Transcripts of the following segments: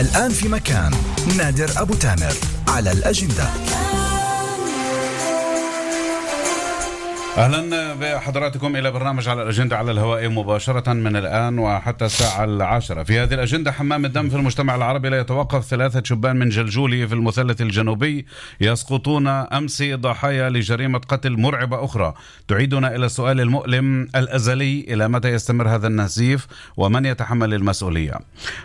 الآن في مكان. نادر أبو تامر على الأجندة. أهلا بحضراتكم إلى برنامج على الأجندة على الهواء مباشرة من الآن وحتى الساعة 10. في هذه الأجندة: حمام الدم في المجتمع العربي لا يتوقف. 3 شبان من جلجولي في المثلث الجنوبي يسقطون أمس ضحايا لجريمة قتل مرعبة أخرى تعيدنا إلى السؤال المؤلم الأزلي: إلى متى يستمر هذا النزيف ومن يتحمل المسؤولية؟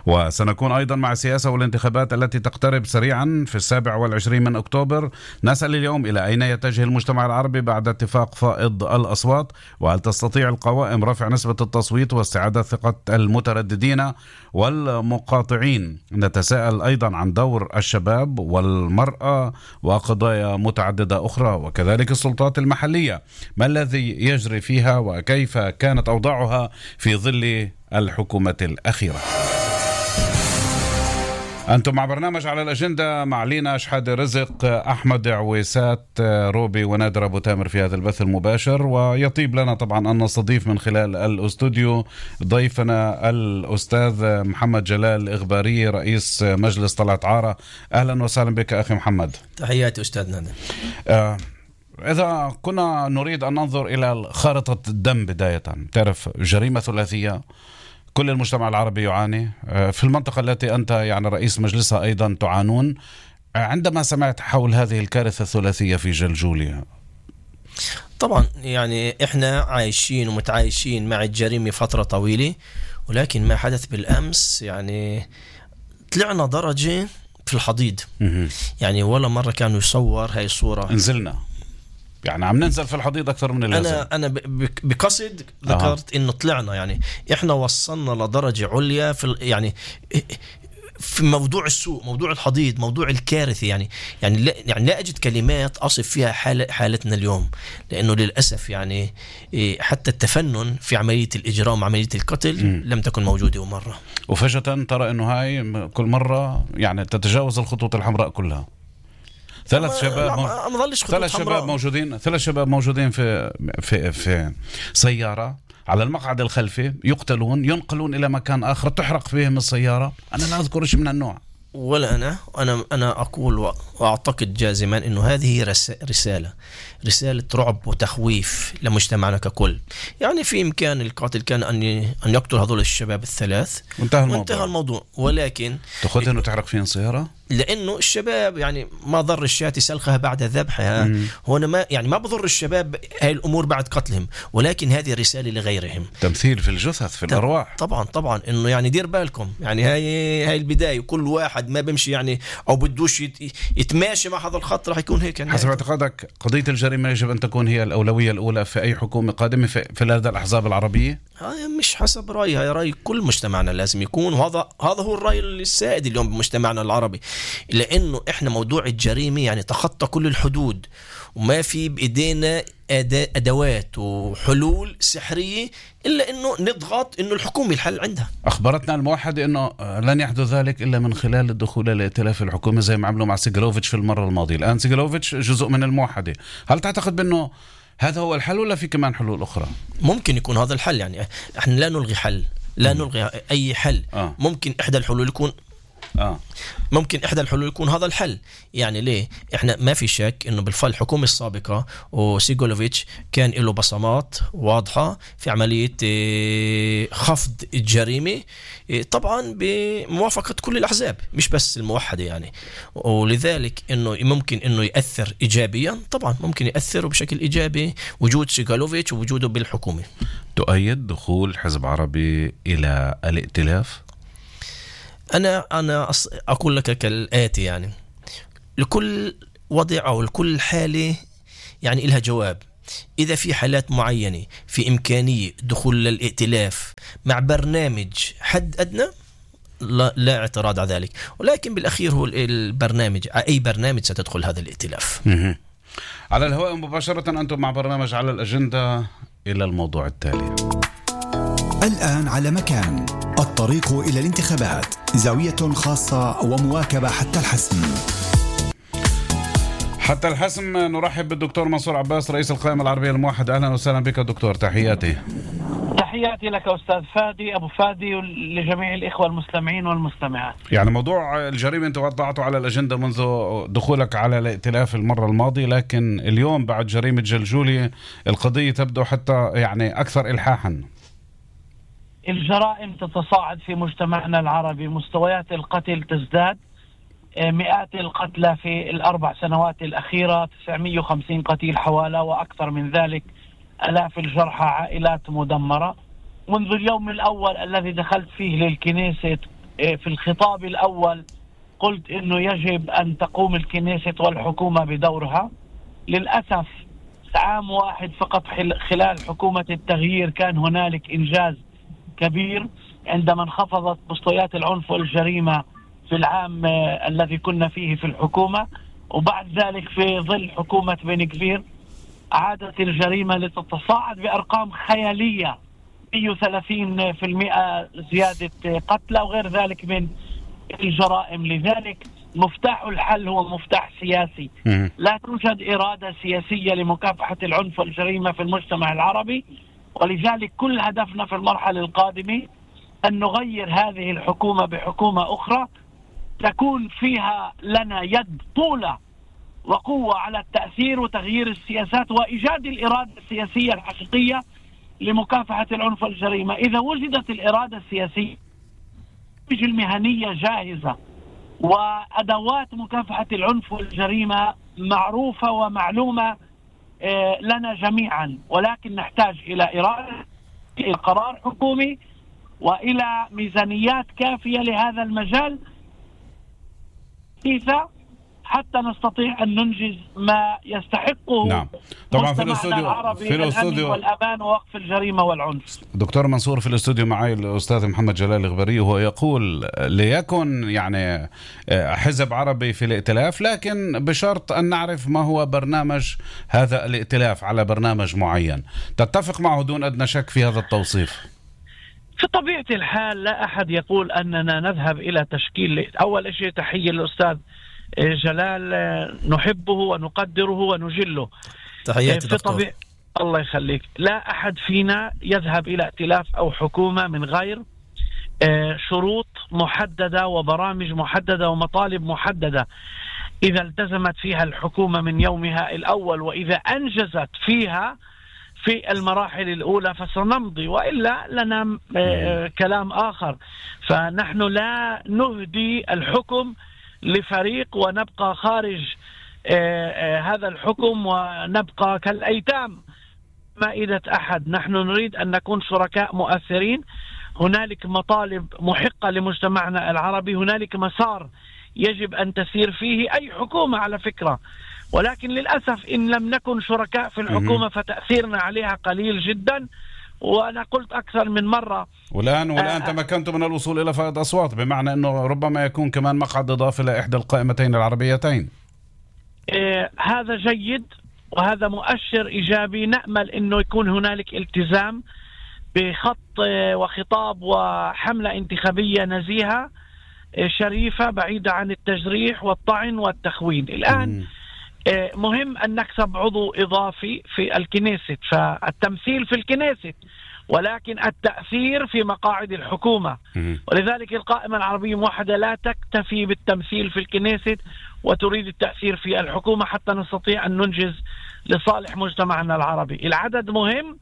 وسنكون أيضا مع السياسة والانتخابات التي تقترب سريعا في 27 من أكتوبر. نسأل اليوم: إلى أين يتجه المجتمع العربي بعد اتفاق فائض الأصوات؟ وهل تستطيع القوائم رفع نسبة التصويت واستعادة ثقة المترددين والمقاطعين؟ نتساءل أيضا عن دور الشباب والمرأة وقضايا متعددة أخرى، وكذلك السلطات المحلية، ما الذي يجري فيها وكيف كانت أوضاعها في ظل الحكومة الأخيرة. أنتم مع برنامج على الأجندة مع لينا شحادة رزق، أحمد عويسات، روبي ونادر أبو تامر في هذا البث المباشر. ويطيب لنا طبعا أن نستضيف من خلال الأستوديو ضيفنا الأستاذ محمد جلال إغباري رئيس مجلس طلعت عارة. أهلا وسهلا بك أخي محمد. تحياتي أستاذ نادر. إذا كنا نريد أن ننظر إلى خارطة الدم بداية، تعرف جريمة ثلاثية كل المجتمع العربي يعاني، في المنطقة التي أنت يعني رئيس مجلسها أيضا تعانون. عندما سمعت حول هذه الكارثة الثلاثية في جلجوليا، طبعا يعني إحنا عايشين ومتعايشين مع الجريمة فترة طويلة، ولكن ما حدث بالأمس يعني طلعنا درجة في الحضيض. يعني ولا مرة كانوا يصور هاي الصورة، نزلنا يعني عم ننزل في الحضيض أكثر من اللازم. أنا بقصد ذكرت إنه طلعنا، يعني إحنا وصلنا لدرجة عليا في يعني في موضوع السوء، موضوع الحضيض، موضوع الكارثة. يعني لا أجد كلمات أصف فيها حالتنا اليوم، لأنه للأسف يعني حتى التفنن في عملية الإجرام، عملية القتل لم تكن موجودة مرة، وفجأة ترى إنه هاي كل مرة يعني تتجاوز الخطوط الحمراء كلها. ثلاث شباب موجودين في سيارة على المقعد الخلفي، يقتلون، ينقلون إلى مكان آخر، تحرق فيهم السيارة. أنا لا أذكر شيء من النوع، ولا أنا أقول وأعتقد جازما إنه هذه رسالة رعب وتخويف لمجتمعنا ككل. يعني في إمكان القاتل كان أن يقتل هذول الشباب الثلاث وانتهى الموضوع، ولكن تأخذ إنه تحرق فيهم سيارة، لأنه الشباب يعني ما ضر الشاة سلخها بعد ذبحها. هنا ما بضر الشباب هاي الأمور بعد قتلهم، ولكن هذه رسالة لغيرهم، تمثيل في الجثث، في الأرواح. طبعا إنه يعني دير بالكم، يعني هاي البداية. كل واحد ما بمشي يعني أو بدوش يتماشي مع هذا الخط راح يكون هيك. يعني حسب اعتقادك قضية الجريمة يجب أن تكون هي الأولوية الأولى في أي حكومة قادمة في هذه الأحزاب العربية؟ مش حسب رأيي، هاي رأي كل مجتمعنا لازم يكون، وهذا هو الرأي السائد اليوم بمجتمعنا العربي، لأنه إحنا موضوع الجريمة يعني تخطى كل الحدود، وما في بإيدينا أدوات وحلول سحرية إلا إنه نضغط إنه الحكومة الحل عندها. أخبرتنا الموحدة إنه لن يحدث ذلك إلا من خلال الدخول لائتلاف الحكومة زي ما عملوا مع سيغلوفيتش في المرة الماضية. الآن سيغلوفيتش جزء من الموحدة، هل تعتقد بأنه هذا هو الحل ولا في كمان حلول أخرى؟ ممكن يكون هذا الحل، يعني إحنا لا نلغي حل، لا نلغي أي حل. ممكن إحدى الحلول يكون ممكن إحدى الحلول يكون هذا الحل. يعني ليه؟ إحنا ما في شك إنه بالفعل الحكومة السابقة وسيغولوفيتش كان له بصمات واضحة في عملية خفض الجريمة، طبعا بموافقة كل الأحزاب مش بس الموحدة يعني، ولذلك إنه ممكن إنه يأثر إيجابيا. طبعا ممكن يأثر بشكل إيجابي وجود سيغولوفيتش ووجوده بالحكومة. تؤيد دخول حزب عربي إلى الائتلاف؟ أنا أقول لك كالآتي: يعني لكل وضع أو لكل حالة يعني إلها جواب. إذا في حالات معينة في إمكانية دخول للائتلاف مع برنامج حد أدنى، لا اعتراض على ذلك، ولكن بالأخير هو البرنامج، أي برنامج ستدخل هذا الائتلاف. على الهواء مباشرة أنتم مع برنامج على الأجندة. إلى الموضوع التالي. الآن على مكان، الطريق إلى الانتخابات، زاوية خاصة ومواكبة حتى الحسم. حتى الحسم نرحب بالدكتور منصور عباس رئيس القائمة العربية الموحدة. أهلا وسهلا بك دكتور. تحياتي. تحياتي لك أستاذ فادي أبو فادي ولجميع الإخوة المستمعين والمستمعات. يعني موضوع الجريمة أنت وضعته على الأجندة منذ دخولك على الائتلاف المرة الماضية، لكن اليوم بعد جريمة جلجولي القضية تبدو حتى يعني أكثر إلحاحا. الجرائم تتصاعد في مجتمعنا العربي، مستويات القتل تزداد، مئات القتلى في الأربع سنوات الأخيرة، 950 قتيل حوالي وأكثر من ذلك، آلاف الجرحى، عائلات مدمرة. منذ اليوم الأول الذي دخلت فيه للكنيسة في الخطاب الأول قلت إنه يجب أن تقوم الكنيسة والحكومة بدورها. للأسف عام واحد فقط خلال حكومة التغيير كان هنالك إنجاز كبير عندما انخفضت مستويات العنف والجريمة في العام الذي كنا فيه في الحكومة، وبعد ذلك في ظل حكومة بن كفير عادت الجريمة لتتصاعد بأرقام خيالية، 130% زيادة قتلى وغير ذلك من الجرائم. لذلك مفتاح الحل هو مفتاح سياسي. لا توجد إرادة سياسية لمكافحة العنف والجريمة في المجتمع العربي، ولذلك كل هدفنا في المرحلة القادمة أن نغير هذه الحكومة بحكومة أخرى تكون فيها لنا يد طولة وقوة على التأثير وتغيير السياسات وإيجاد الإرادة السياسية الحقيقية لمكافحة العنف والجريمة. إذا وجدت الإرادة السياسية المهنية جاهزة وأدوات مكافحة العنف والجريمة معروفة ومعلومة لنا جميعا، ولكن نحتاج إلى إرادة، إلى قرار حكومي، وإلى ميزانيات كافية لهذا المجال حتى نستطيع أن ننجز ما يستحقه. نعم. طبعا في الاستوديو والأمان ووقف الجريمة والعنف. دكتور منصور في الاستوديو معي الأستاذ محمد جلال الغبري، وهو يقول ليكن يعني حزب عربي في الائتلاف، لكن بشرط أن نعرف ما هو برنامج هذا الائتلاف على برنامج معين. تتفق معه دون أدنى شك في هذا التوصيف؟ في طبيعة الحال لا أحد يقول أننا نذهب إلى تشكيل. أول شيء تحية للأستاذ جلال، نحبه ونقدره ونجله. تحياتي دكتور. الله يخليك. لا أحد فينا يذهب إلى ائتلاف أو حكومة من غير شروط محددة وبرامج محددة ومطالب محددة. إذا التزمت فيها الحكومة من يومها الأول وإذا أنجزت فيها في المراحل الأولى فسنمضي، وإلا لنا كلام آخر. فنحن لا نهدي الحكم لفريق ونبقى خارج هذا الحكم ونبقى كالأيتام مائدة أحد. نحن نريد أن نكون شركاء مؤثرين. هنالك مطالب محقة لمجتمعنا العربي، هنالك مسار يجب أن تسير فيه أي حكومة على فكرة، ولكن للأسف إن لم نكن شركاء في الحكومة فتأثيرنا عليها قليل جدا. وأنا قلت أكثر من مرة والآن تمكنت من الوصول إلى فائض أصوات، بمعنى أنه ربما يكون كمان مقعد إضافي لإحدى القائمتين العربيتين. هذا جيد وهذا مؤشر إيجابي. نأمل أنه يكون هنالك التزام بخط وخطاب وحملة انتخابية نزيهة شريفة بعيدة عن التجريح والطعن والتخوين. الآن مهم أن نكسب عضو إضافي في الكنيسة، فالتمثيل في الكنيسة ولكن التأثير في مقاعد الحكومة. ولذلك القائمة العربية الموحدة لا تكتفي بالتمثيل في الكنيسة وتريد التأثير في الحكومة حتى نستطيع أن ننجز لصالح مجتمعنا العربي. العدد مهم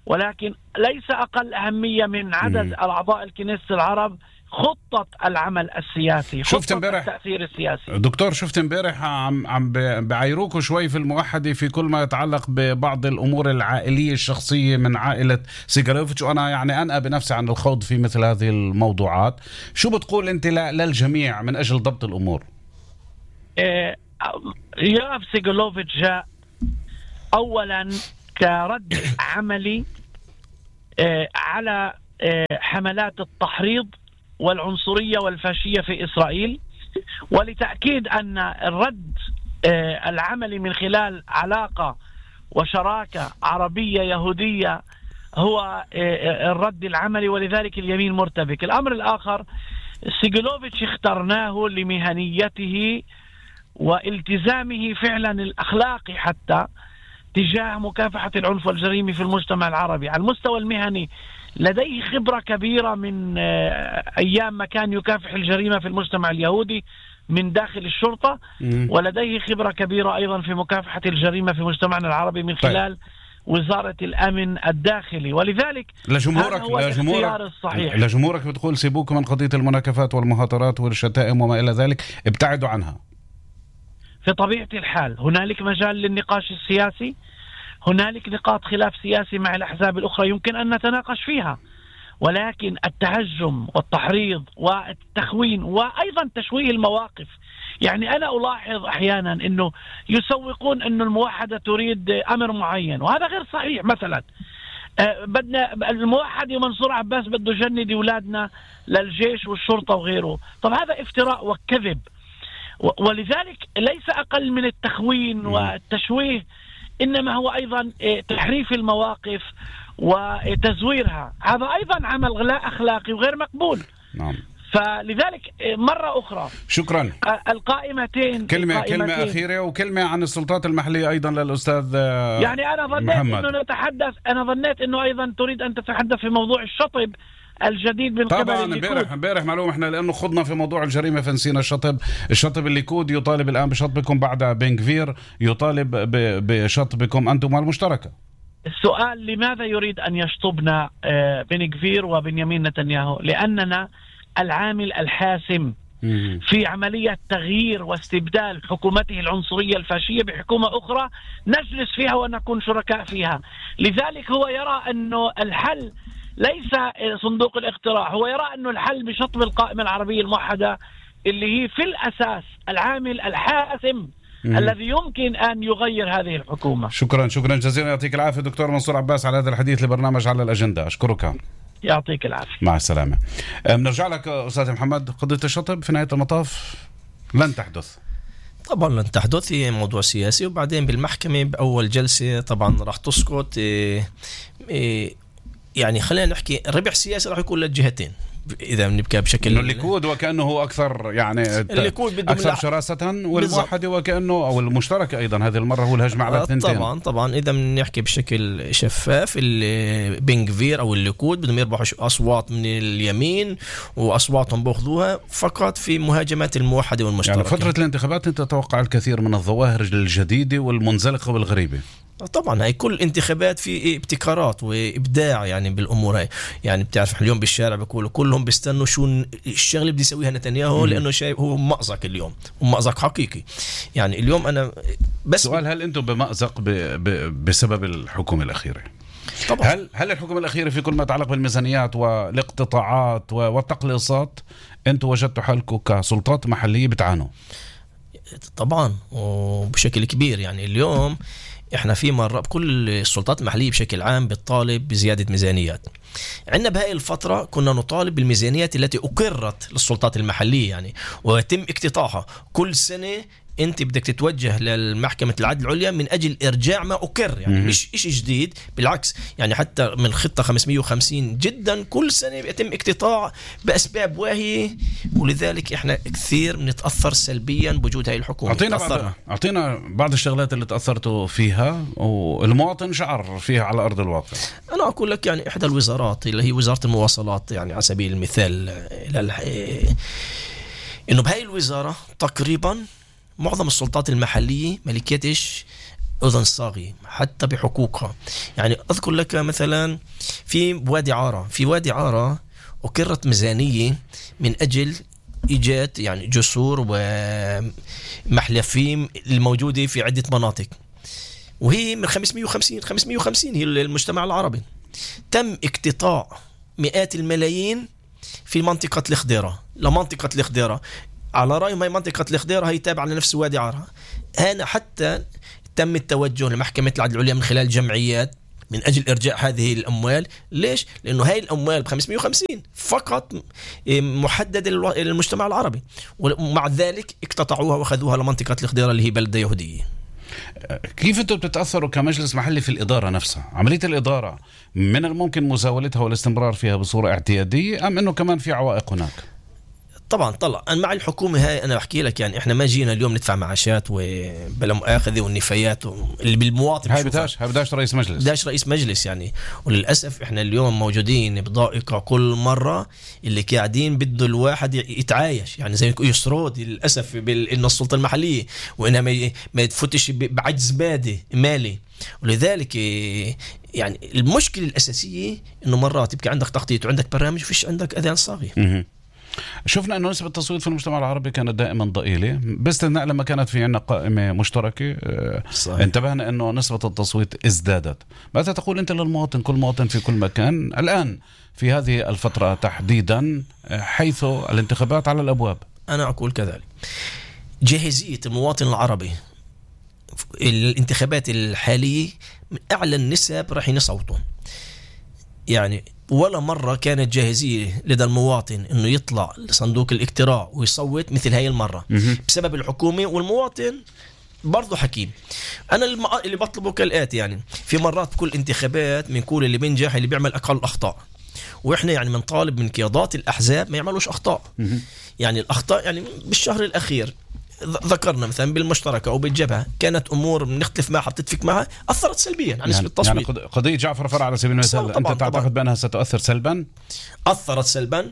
ولكن ليس أقل أهمية من عدد الأعضاء الكنيسة العرب خطة العمل السياسي، شفت امبارح التأثير السياسي. دكتور، شفت امبارح عم بعيروكوا شوي في الموحدة في كل ما يتعلق ببعض الأمور العائلية الشخصية من عائلة سيغالوفيتش، وأنا يعني أنأى بنفسي عن الخوض في مثل هذه الموضوعات. شو بتقول أنت للجميع من أجل ضبط الأمور؟ يوآف سيغالوفيتش جاء أولا كرد عملي على حملات التحريض والعنصرية والفاشية في إسرائيل، ولتأكيد أن الرد العملي من خلال علاقة وشراكة عربية يهودية هو الرد العملي، ولذلك اليمين مرتبك. الأمر الآخر، سيغالوفيتش اخترناه لمهنيته والتزامه فعلا الأخلاقي حتى تجاه مكافحة العنف والجريمة في المجتمع العربي. على المستوى المهني لديه خبرة كبيرة من أيام ما كان يكافح الجريمة في المجتمع اليهودي من داخل الشرطة، ولديه خبرة كبيرة أيضا في مكافحة الجريمة في مجتمعنا العربي من خلال وزارة الأمن الداخلي. ولذلك هذا هو الاختيار الصحيح. لجمهورك بتقول سيبوك من قضية المناكفات والمهاترات والشتائم وما إلى ذلك، ابتعدوا عنها. في طبيعة الحال هنالك مجال للنقاش السياسي، هنالك نقاط خلاف سياسي مع الأحزاب الأخرى يمكن أن نتناقش فيها، ولكن التهجم والتحريض والتخوين وأيضا تشويه المواقف، يعني أنا ألاحظ أحيانا أنه يسوقون أنه الموحدة تريد أمر معين وهذا غير صحيح. مثلا بدنا الموحد منصور عباس بده يجند أولادنا للجيش والشرطة وغيره، طب هذا افتراء وكذب، ولذلك ليس أقل من التخوين والتشويه، إنما هو أيضا تحريف المواقف وتزويرها، هذا أيضا عمل لا أخلاقي وغير مقبول. نعم. فلذلك مرة أخرى شكرا. القائمتين كلمة أخيرة وكلمة عن السلطات المحلية أيضا للأستاذ يعني أنا ظنيت إنه نتحدث، أنا ظنيت إنه أيضا تريد أن تتحدث في موضوع الشطب الجديد من قبل الليكود. طبعا امبارح معلوم احنا لانه خضنا في موضوع الجريمه فنسينا الشطب. الليكود يطالب الان بشطبكم بعد بن غفير يطالب بشطبكم انتم والمشتركه. السؤال لماذا يريد ان يشطبنا بن غفير وبنيامين نتنياهو؟ لاننا العامل الحاسم في عملية تغيير واستبدال حكومته العنصرية الفاشية بحكومة أخرى نجلس فيها ونكون شركاء فيها. لذلك هو يرى أنه الحل ليس صندوق الاقتراع، هو يرى أنه الحل بشطب القائمة العربية الموحدة اللي هي في الأساس العامل الحاسم الذي يمكن أن يغير هذه الحكومة. شكرا جزيلا، يعطيك العافية دكتور منصور عباس على هذا الحديث لبرنامج على الأجندة. أشكرك. يعطيك العافية. مع السلامة. بنرجع لك أستاذ محمد. قضية الشطب في نهاية المطاف لن تحدث. طبعا لن تحدث، هي موضوع سياسي، وبعدين بالمحكمة بأول جلسة طبعا راح تسقط. يعني خلينا نحكي ربح سياسي راح يكون للجهتين إذا بنبكى بشكل إنه الليكود وكأنه هو أكثر يعني أكثر شراسة، والموحد وكأنه أو المشترك أيضا هذه المرة هو الهجمة على الثنتين. طبعا إذا بنحكي بشكل شفاف بن غفير أو الليكود بدهم يربحوا أصوات من اليمين وأصواتهم بأخذوها فقط في مهاجمات الموحدة والمشترك. يعني فترة الانتخابات أنت تتوقع الكثير من الظواهر الجديدة والمنزلقة والغريبة. طبعا هاي كل انتخابات في ابتكارات وإبداع يعني بالأمور هاي. يعني بتعرف اليوم بالشارع بيقولوا كلهم بيستنوا شو الشغله بدي يسويها نتنياهو لأنه شايف هو مأزق اليوم، ومأزق حقيقي. يعني اليوم أنا بس سؤال، هل أنتم بمأزق بسبب الحكومة الأخيرة؟ طبعا. هل الحكومة الأخيرة في كل ما يتعلق بالميزانيات والاقتطاعات والتقليصات أنتم وجدتوا حالكم كسلطات محلية بتعانوا؟ طبعا وبشكل كبير. يعني اليوم احنا في مرة كل السلطات المحلية بشكل عام بتطالب بزيادة ميزانيات. عندنا بهاي الفترة كنا نطالب بالميزانيات التي أقرت للسلطات المحلية يعني ويتم اقتطاعها. كل سنة انت بدك تتوجه للمحكمة العدل العليا من اجل ارجاع ما اقر، يعني مش اشي جديد، بالعكس يعني حتى من خطة 550 جدا كل سنة يتم اقتطاع باسباب واهية، ولذلك احنا كثير بنتأثر سلبيا بوجود هاي الحكومة. اعطينا بعض الشغلات اللي تأثرتوا فيها والمواطن شعر فيها على ارض الواقع. انا اقول لك يعني احدى الوزارات اللي هي وزارة المواصلات، يعني على سبيل المثال انه بهاي الوزارة تقريبا معظم السلطات المحلية ملكيتش أذن صاغي حتى بحقوقها. يعني أذكر لك مثلا في وادي عارة أقرت ميزانية من أجل إيجاد يعني جسور ومحلفين الموجودة في عدة مناطق، وهي من 550 هي المجتمع العربي. تم اقتطاع مئات الملايين في منطقة الخضيرة لمنطقة الخضيرة. على رأيهم هي منطقة الخضيرة هي تابعة لنفس وادي عارة. هنا حتى تم التوجه لمحكمة العدل العليا من خلال جمعيات من أجل إرجاع هذه الأموال. ليش؟ لأنه هاي الأموال ب550 فقط محددة للمجتمع العربي، ومع ذلك اقتطعوها وأخذوها لمنطقة الخضيرة اللي هي بلدة يهودية. كيف أنتم بتتأثروا كمجلس محلي في الإدارة نفسها؟ عملية الإدارة من الممكن مزاولتها والاستمرار فيها بصورة اعتيادية أم أنه كمان في عوائق هناك؟ طبعا أنا مع الحكومة هاي. أنا بحكي لك يعني إحنا ما جينا اليوم ندفع معاشات وبلا مؤاخذة والنفايات اللي بالمواطن. هاي بداش رئيس مجلس، بداش رئيس مجلس يعني. وللأسف إحنا اليوم موجودين بضائقة كل مرة، اللي قاعدين بده الواحد يتعايش يعني زي يسرود للأسف إن السلطة المحلية، وإنها ما يتفتش بعجز مالي. ولذلك يعني المشكلة الأساسية إنه مرات يبقى عندك تخطيط وعندك برامج وفيش عندك أذان صاغي. شفنا أنه نسبة التصويت في المجتمع العربي كانت دائما ضئيلة، باستثناء لما كانت في عنا قائمة مشتركة. صحيح. انتبهنا أنه نسبة التصويت ازدادت. ماذا تقول أنت للمواطن، كل مواطن في كل مكان الآن في هذه الفترة تحديدا حيث الانتخابات على الأبواب؟ أنا أقول كذلك، جاهزية المواطن العربي الانتخابات الحالية من أعلى النسب راح يصوتون. يعني ولا مرة كانت جاهزية لدى المواطن إنه يطلع لصندوق الاقتراع ويصوت مثل هاي المرة بسبب الحكومة. والمواطن برضو حكيم. أنا اللي بطلبه كالآتي، يعني في مرات بكل انتخابات بنقول اللي بينجح اللي بيعمل أقل أخطاء، وإحنا يعني بنطالب من قيادات الأحزاب ما يعملوش أخطاء. يعني الأخطاء يعني بالشهر الأخير ذكرنا مثلا بالمشتركة أو بالجبهة كانت أمور بنختلف معها بتتفق معها أثرت سلبيا عن نسبة التصويت. يعني قضية جعفر فرع على سبيل المثال أنت تعتقد بأنها ستؤثر سلبا؟ أثرت سلبا.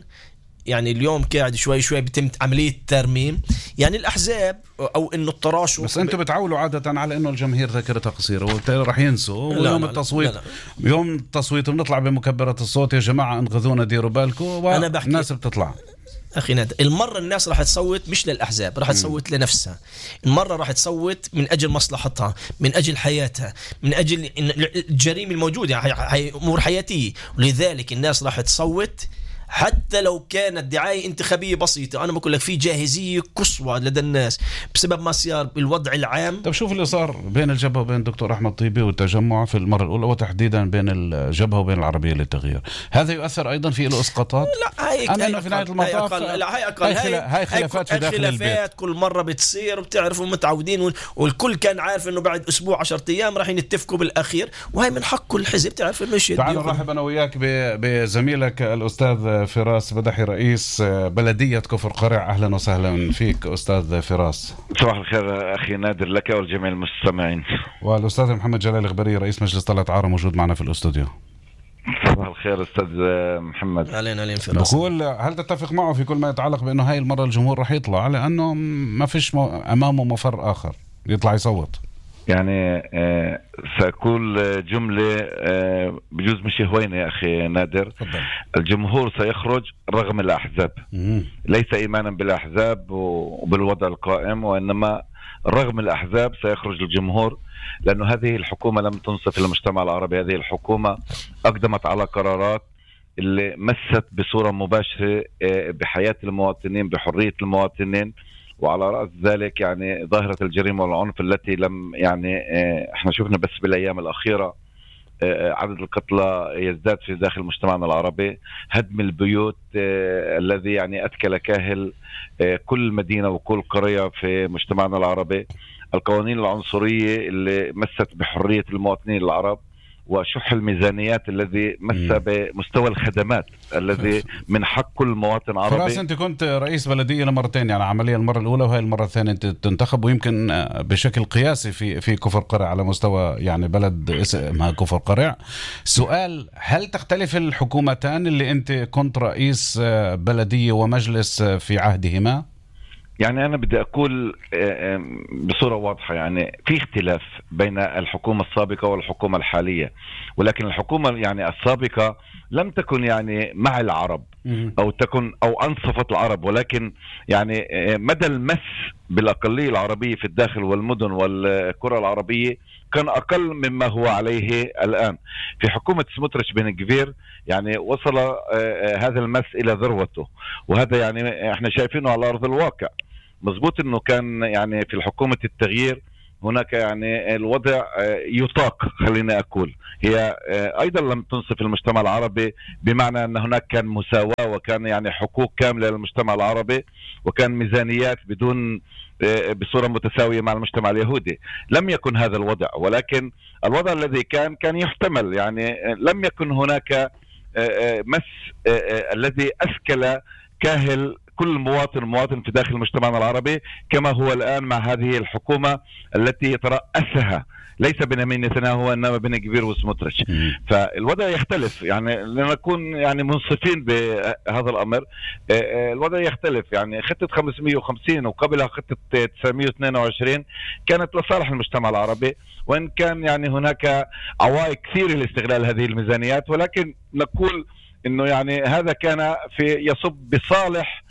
يعني اليوم قاعد شوي بتم عملية ترميم يعني الأحزاب أو إنه التراشق. بس أنتم بتعولوا عادة على إنه الجماهير ذاكرتها قصيرة وبالتالي راح ينسوا. ويوم التصويت يوم التصويت بنطلع بمكبرة الصوت يا جماعة انقذونا ديروا بالكم، والناس بتطلع. أخي نادر، المرة الناس راح تصوت مش للأحزاب، راح تصوت لنفسها. المرة راح تصوت من أجل مصلحتها، من أجل حياتها، من أجل الجريمة الموجودة، يعني أمور حياتية. ولذلك الناس راح تصوت حتى لو كانت دعاية انتخابية بسيطة. أنا بقول لك في جاهزية قصوى لدى الناس بسبب ما صار بالوضع العام. طب شوف اللي صار بين الجبهة وبين دكتور أحمد طيبي والتجمع في المرة الأولى، وتحديدا بين الجبهة وبين العربية للتغيير، هذا يؤثر أيضا في له إسقاطات؟ لا هاي في نهاية المطاف هاي خلافات في داخل البيت كل مرة بتصير وبتعرفوا متعودين، والكل كان عارف إنه بعد أسبوع 10 أيام راح يتفقوا بالأخير، وهي من حق كل حزب تعرف إنه شيء. تعال نرحب أنا وياك بزميلك الأستاذ فراس بدحي رئيس بلدية كفر قرع. أهلا وسهلا فيك أستاذ فراس. صباح الخير أخي نادر لك والجميع المستمعين. والأستاذ محمد جلال الغبري رئيس مجلس طلعت عارة موجود معنا في الأستوديو. صباح الخير أستاذ محمد. أهلا فراس. بقول هل تتفق معه في كل ما يتعلق بأنه هاي المرة الجمهور رح يطلع لأنه ما فيش أمامه مفر آخر يطلع يصوت؟ يعني سأقول جملة بجوز مش هوينة يا أخي نادر. فضل. الجمهور سيخرج رغم الأحزاب. ليس إيمانا بالأحزاب وبالوضع القائم، وإنما رغم الأحزاب سيخرج الجمهور، لأنه هذه الحكومة لم تنصف المجتمع العربي. هذه الحكومة أقدمت على قرارات اللي مست بصورة مباشرة بحياة المواطنين، بحرية المواطنين، وعلى رأس ذلك يعني ظاهرة الجريمة والعنف التي لم يعني احنا شفنا بس بالأيام الأخيرة عدد القتلى يزداد في داخل مجتمعنا العربي، هدم البيوت الذي يعني أتكل كاهل كل مدينة وكل قرية في مجتمعنا العربي، القوانين العنصرية اللي مست بحرية المواطنين العرب، وشح الميزانيات الذي مس بمستوى الخدمات الذي من حق كل مواطن عربي. فراس أنت كنت رئيس بلدية لمرتين، يعني عمليا المرة الأولى وهي المرة الثانية أنت تنتخب، ويمكن بشكل قياسي في كفر قرع على مستوى يعني بلد اسمها كفر قرع. سؤال، هل تختلف الحكومتان اللي أنت كنت رئيس بلدية ومجلس في عهدهما؟ يعني أنا بدي أقول بصورة واضحة، يعني في اختلاف بين الحكومة السابقة والحكومة الحالية، ولكن الحكومة يعني السابقة لم تكن يعني مع العرب أو تكن أو أنصفت العرب، ولكن يعني مدى المس بالأقلية العربية في الداخل والمدن والقرى العربية كان أقل مما هو عليه الآن. في حكومة سموتريتش بن كفير يعني وصل هذا المس إلى ذروته، وهذا يعني احنا شايفينه على أرض الواقع. مظبوط انه كان يعني في الحكومة التغيير هناك يعني الوضع يطاق، خلينا أقول هي أيضا لم تنصف المجتمع العربي، بمعنى أن هناك كان مساواة وكان يعني حقوق كاملة للمجتمع العربي، وكان ميزانيات بدون بصورة متساوية مع المجتمع اليهودي. لم يكن هذا الوضع، ولكن الوضع الذي كان يحتمل، يعني لم يكن هناك مس الذي أسكل كاهل كل مواطن في داخل مجتمعنا العربي، كما هو الآن مع هذه الحكومة التي يترأسها ليس بنيامين نتنياهو وإنما بن كبير وسموتريتش. فالوضع يختلف، يعني لنكون يعني منصفين بهذا الأمر. الوضع يختلف، يعني خطة 550 وقبلها خطة 922 كانت لصالح المجتمع العربي، وإن كان يعني هناك عوائق كثيرة لاستغلال هذه الميزانيات، ولكن نقول إنه يعني هذا كان يصب بصالح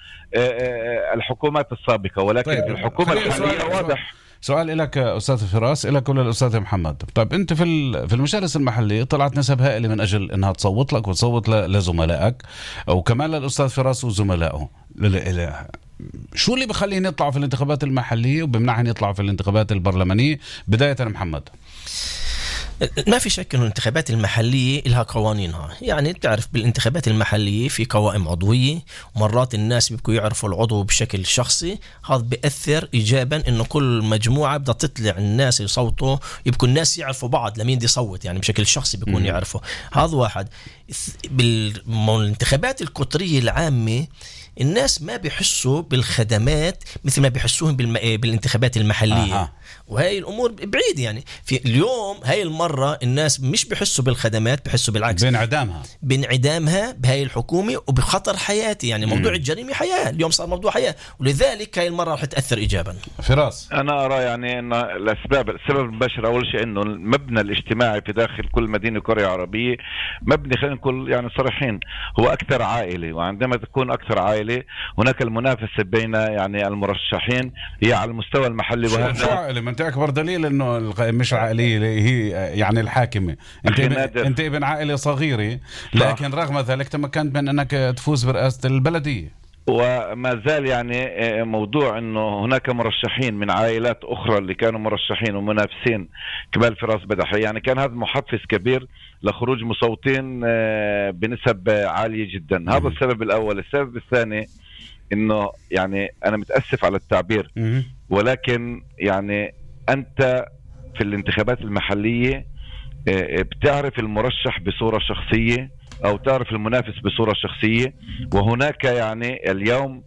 الحكومات السابقة، ولكن طيب الحكومة الحالية واضح. سؤال لك أستاذ فراس، لك ولا الأستاذ محمد. طيب أنت في المجالس المحلية طلعت نسب هائلة من أجل أنها تصوت لك وتصوت لزملائك وكمان للأستاذ فراس وزملائه. شو اللي بخليهم يطلعوا في الانتخابات المحلية وبمنعهم يطلعوا في الانتخابات البرلمانية؟ بداية محمد. ما في شك أن الانتخابات المحلية لها قوانينها. يعني تعرف بالانتخابات المحلية في قوائم عضوية، ومرات الناس بيبقوا يعرفوا العضو بشكل شخصي، هذا بيأثر إيجابا إنه كل مجموعة بدها تطلع الناس يصوتوا، يبقوا الناس يعرفوا بعض لمين دي صوت، يعني بشكل شخصي بيكون يعرفوا. هذا واحد. بالانتخابات القطرية العامة الناس ما بيحسوا بالخدمات مثل ما بيحسوهم بالانتخابات المحلية. وهي الأمور بعيد. يعني في اليوم هاي المرة الناس مش بيحسوا بالخدمات، بيحسوا بالعكس بانعدامها بهاي الحكومة وبخطر حياتي. يعني موضوع الجريمة حياة، اليوم صار موضوع حياة، ولذلك هاي المرة رح تأثر إيجابا. فراس، أنا أرى يعني أن السبب المباشر أول شيء أنه المبنى الاجتماعي في داخل كل مدينة كوريا عربية مبني، خلينا نقول يعني صريحين، هو أكثر عائلي. وعندما تكون أكثر عائلي هناك المنافسة بين يعني المرشحين هي على المستوى المحلي. وهذا انت اكبر دليل انه مش عائليه هي يعني الحاكمه. انت ابن عائله صغيره، لكن رغم ذلك تمكنت من انك تفوز برئاسه البلديه. وما زال يعني موضوع انه هناك مرشحين من عائلات اخرى اللي كانوا مرشحين ومنافسين كمال فراس بدحي، يعني كان هذا محفز كبير لخروج مصوتين بنسب عاليه جدا. هذا السبب الاول. السبب الثاني انه يعني انا متاسف على التعبير، ولكن يعني أنت في الانتخابات المحلية بتعرف المرشح بصورة شخصية أو تعرف المنافس بصورة شخصية، وهناك يعني اليوم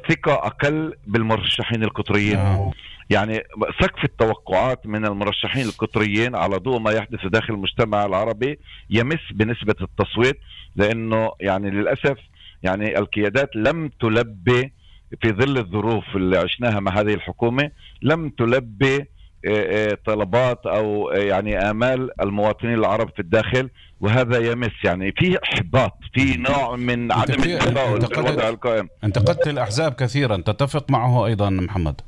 ثقة أقل بالمرشحين القطريين. يعني سقف التوقعات من المرشحين القطريين على ضوء ما يحدث داخل المجتمع العربي يمس بنسبة التصويت، لأنه يعني للأسف يعني القيادات لم تلبي في ظل الظروف اللي عشناها مع هذه الحكومة، لم تلبي طلبات أو يعني آمال المواطنين العرب في الداخل، وهذا يمس يعني في إحباط، في نوع من عدم التفاؤل في الوضع القائم. انتقدت الأحزاب كثيرا، تتفق معه أيضا محمد؟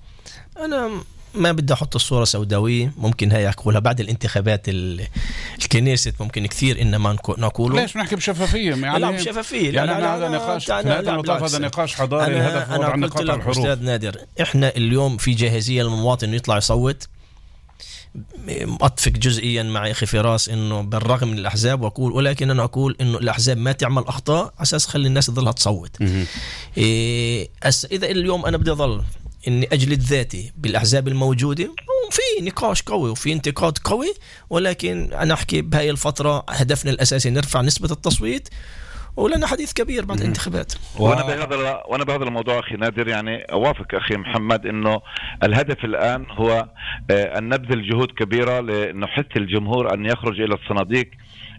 أنا ما بدي أحط الصورة سوداوية، ممكن هاي أقولها بعد الانتخابات الكنيسة، ممكن كثير إنما نقوله. ليش نحكي بشفافية؟ يعني لا بشفافية، يعني هذا نقاش، هذا نقاش حضاري. الهدف هو عن نقاط الحروب. أستاذ نادر، إحنا اليوم في جاهزية للمواطن يطلع يصوت. أتفق جزئيا مع أخي فراس إنه بالرغم من الأحزاب، وأقول ولكن أنا أقول إنه الأحزاب ما تعمل أخطاء أساس خلي الناس تظلها تصوت. إذا اليوم أنا بدي أظل إني أجلد ذاتي بالأحزاب الموجودة، في نقاش قوي وفي انتقاد قوي، ولكن أنا أحكي بهاي الفترة هدفنا الأساسي نرفع نسبة التصويت، ولنا حديث كبير بعد الانتخابات. وانا بهذا الموضوع اخي نادر يعني اوافق اخي محمد انه الهدف الان هو ان نبذل جهود كبيره لنحث الجمهور ان يخرج الى الصناديق،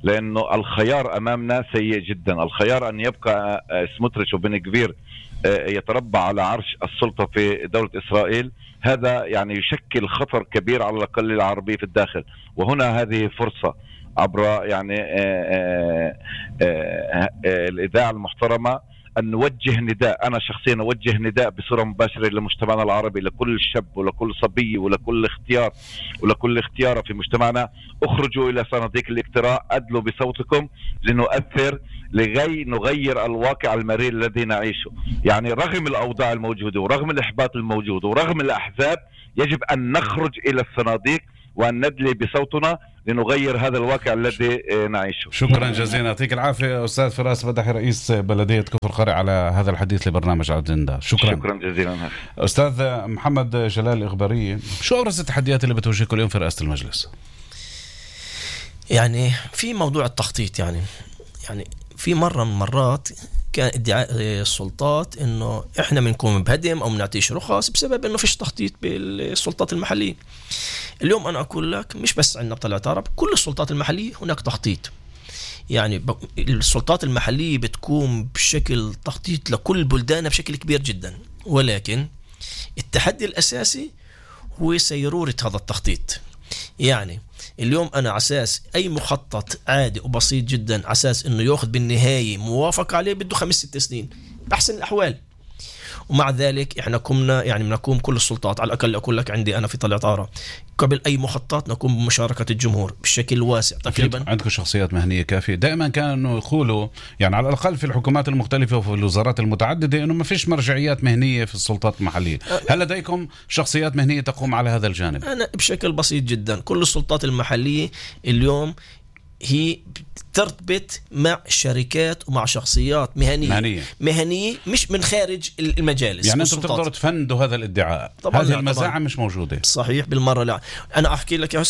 لانه الخيار امامنا سيء جدا. الخيار ان يبقى سموتريتش وبن كبير يتربع على عرش السلطه في دوله اسرائيل، هذا يعني يشكل خطر كبير على الاقل العربي في الداخل. وهنا هذه فرصه عبر يعني الإذاعة المحترمة أن نوجه نداء، أنا شخصيا أوجه نداء بصورة مباشرة لمجتمعنا العربي، لكل شاب ولكل صبي ولكل اختيار ولكل اختيار في مجتمعنا، اخرجوا إلى صناديق الاقتراع، أدلوا بصوتكم لنؤثر لغاية نغير الواقع المرير الذي نعيشه. يعني رغم الأوضاع الموجودة ورغم الإحباط الموجود ورغم الأحزاب يجب أن نخرج إلى الصناديق وأن ندلي بصوتنا لنغير هذا الواقع الذي نعيشه. شكرا جزيلا، يعطيك العافية أستاذ فراس بدحي رئيس بلدية كفر قرع على هذا الحديث لبرنامج على الأجندة. شكرا جزيلا. أستاذ محمد جلال الإخباري، شو أبرز التحديات اللي بتواجهكم اليوم في رئاسة المجلس؟ يعني في موضوع التخطيط، يعني في مرة من مرات كان ادعاء السلطات إنه إحنا بنقوم بهدم أو بنعطيش رخص بسبب إنه فيش تخطيط بالسلطات المحلية. اليوم أنا أقول لك مش بس عندنا بطلعت عرب، كل السلطات المحلية هناك تخطيط. يعني السلطات المحلية بتقوم بشكل تخطيط لكل بلدانها بشكل كبير جدا، ولكن التحدي الأساسي هو سيرورة هذا التخطيط. يعني اليوم أنا عساس أي مخطط عادي وبسيط جدا عساس إنه يأخذ بالنهاية موافق عليه بده 5-6 سنين بأحسن الأحوال. ومع ذلك إحنا قمنا يعني بنقوم كل السلطات، على الأقل أقول لك عندي أنا في طلعت عارة قبل أي مخطط نقوم بمشاركة الجمهور بشكل واسع تقريبا. عندكم شخصيات مهنية كافية. دائما كان إنه يقولوا يعني على الأقل في الحكومات المختلفة وفي الوزارات المتعددة إنه ما فيش مرجعيات مهنية في السلطات المحلية. هل لديكم شخصيات مهنية تقوم على هذا الجانب؟ أنا بشكل بسيط جدا كل السلطات المحلية اليوم هي ترتبط مع شركات ومع شخصيات مهنية مش من خارج المجالس. يعني أنتم تقدروا تفندوا هذا الادعاء؟ هذه المزاعم مش موجودة. صحيح بالمرة. لا أنا أحكي لك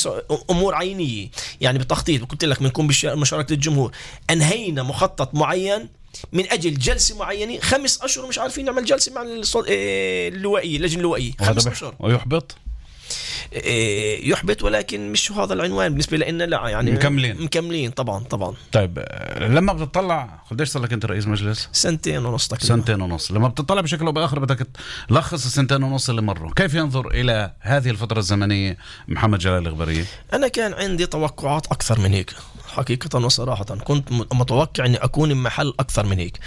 أمور عينية يعني بتخطيط. قلت لك بنكون بمشاركة الجمهور، أنهينا مخطط معين من أجل جلسة معينة 5 أشهر مش عارفين نعمل جلسة مع اللوائية اللجنة اللوائية 5 أشهر يحبط ولكن مش هذا العنوان بالنسبة لنا. لا يعني مكملين طبعا. طيب لما بتطلع قديش صار لك انت رئيس مجلس؟ 2.5 تقريبا. 2.5. لما بتطلع بشكل او باخر بدك تلخص 2.5 اللي مروا، كيف ينظر الى هذه الفترة الزمنية محمد جلال الغبرية؟ انا كان عندي توقعات اكثر من هيك حقيقة وصراحة، كنت متوقع اني اكون محل اكثر من هيك،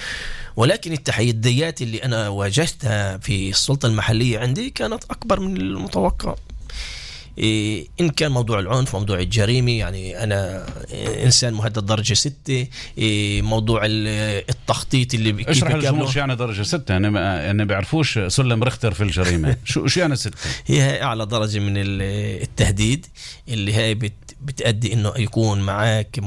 ولكن التحديات اللي انا واجهتها في السلطة المحلية عندي كانت اكبر من المتوقع. إن كان موضوع العنف، موضوع الجريمة، يعني أنا إنسان مهدد درجة 6، موضوع التخطيط اللي اشرح للجمهور شو يعني درجة 6؟ يعني بيعرفوش سلم رختر في الجريمة. شو يعني 6؟ هي أعلى درجة من التهديد اللي هي بتأدي إنه يكون معك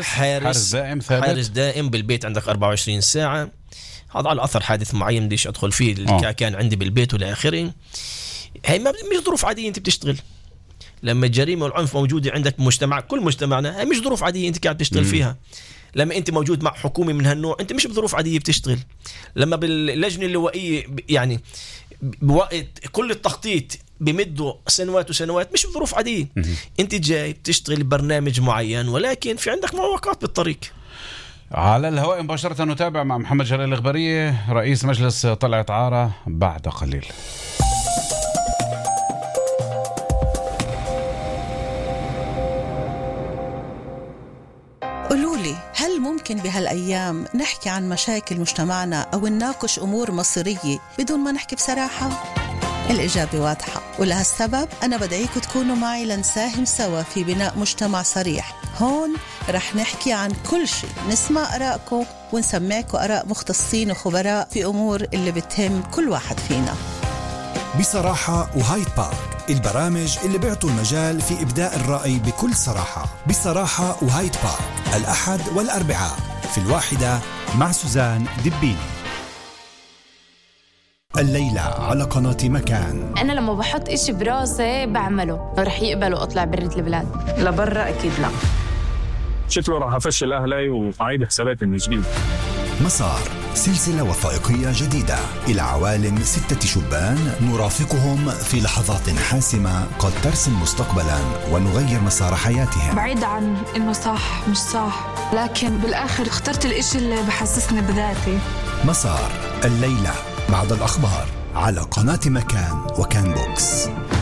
حارس دائم ثابت، حارس دائم بالبيت عندك 24 ساعة. هذا على أثر حادث معين بديش أدخل فيه اللي كان عندي بالبيت ولا آخره. هي مش ظروف عادية أنت بتشتغل. لما الجريمة والعنف موجودة عندك بمجتمع، كل مجتمعنا، هي مش ظروف عادية أنت قاعد تشتغل فيها. لما أنت موجود مع حكومة من هالنوع أنت مش بظروف عادية بتشتغل. لما باللجنة اللوائية يعني بوقت كل التخطيط بمدوا سنوات وسنوات، مش بظروف عادية. أنت جاي بتشتغل برنامج معين ولكن في عندك معوقات بالطريق. على الهواء مباشرة نتابع مع محمد جلال الغبرية رئيس مجلس طلعت عارة بعد قليل. قولولي، هل ممكن بهالأيام نحكي عن مشاكل مجتمعنا أو نناقش أمور مصيرية بدون ما نحكي بصراحة؟ الإجابة واضحة، ولهالسبب أنا بدعيكم تكونوا معي لنساهم سوا في بناء مجتمع صريح. هون رح نحكي عن كل شيء، نسمع آرائكم ونسمعكم آراء مختصين وخبراء في أمور اللي بتهم كل واحد فينا. بصراحة وهايد بارك، البرامج اللي بيعطوا المجال في إبداء الرأي بكل صراحة. بصراحة وهايد بارك الأحد والأربعاء في 1 مع سوزان دبيني. الليلة على قناة مكان. أنا لما بحط إشي براسي بعمله، رح يقبلوا أطلع برة البلاد لبرا؟ أكيد لا. شكله راح أفشل أهلي وأعيد حساباتي من جديد. مسار، سلسلة وثائقية جديدة إلى عوالم 6 شبان نرافقهم في لحظات حاسمة قد ترسم مستقبلا ونغير مسار حياتهم. بعيد عن إنه صح مش صح، لكن بالآخر اخترت الإشي اللي بحسسني بذاتي. مسار الليلة بعد الأخبار على قناة مكان وكان بوكس.